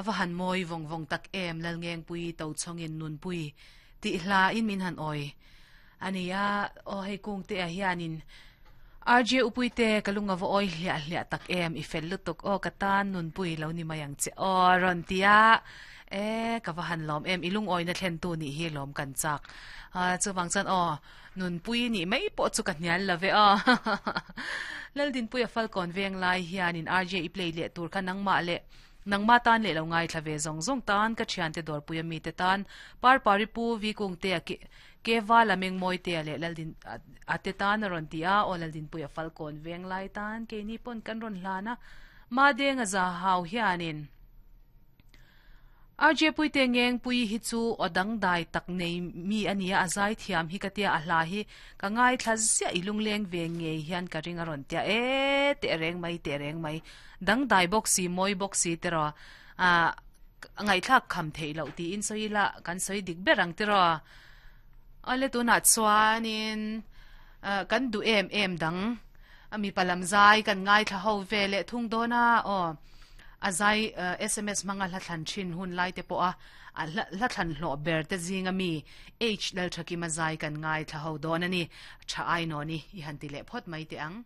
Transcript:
A va han mawi vawng vawng tak em Lalngengpui Tochhawngin Nunpui tih hla in min han awi a nia aw hei kungte ah hianin RJ Upuite ka lung a va awi hliah hliah tak em i fel lutuk aw ka tan Nunpui lo ni mai ang che aw rawn ti a e ka va han lawm em i lungawina thlen tu nih hi lawm kan chak chuvang chuan aw Nunpui nih mai pawh chu ka hnial lo ve aw. Laldinpuia Falkawn veng lai hianin RJ i play leh tur kha nangmah leh nangma tan leh lo ngaithla ve zawng zawng tan ka thiante dawrpui a mite tan Parpari Pu Vi Kungtea ke ke Vala Mengmawitea leh Laldin a te tan a rawn ti a aw Laldinpuia Falkawn veng lai tan keini pawn kan rawn hlan a Madenga Zahau hianin RJ Puite Ngengpui hi chu aw dangdai tak nei mi a nia, a zaithiam hi ka tia, a hla hi ka ngaithla ziah i lungleng ve ngei hian ka ring a rawn tia e teh reng mai teh reng mai dangdai bawk si mawi bawk si tiraw ah ngaihthlak kham theih loh tiin sawi ila kan sawi dik ber ang tiraw awle tunah chuanin kan duh em em dang a mipa lam zai kan ngaithla ho ve leh thung dawn a aw. A zai sms hmanga hla thlan thin hun lai te pawha a hla thlan hlawh ber te zinga mi H Lalthakima zai kan ngaithla ho dawn a ni. Tha ai nawn i i han ti leh phawt mai teh ang.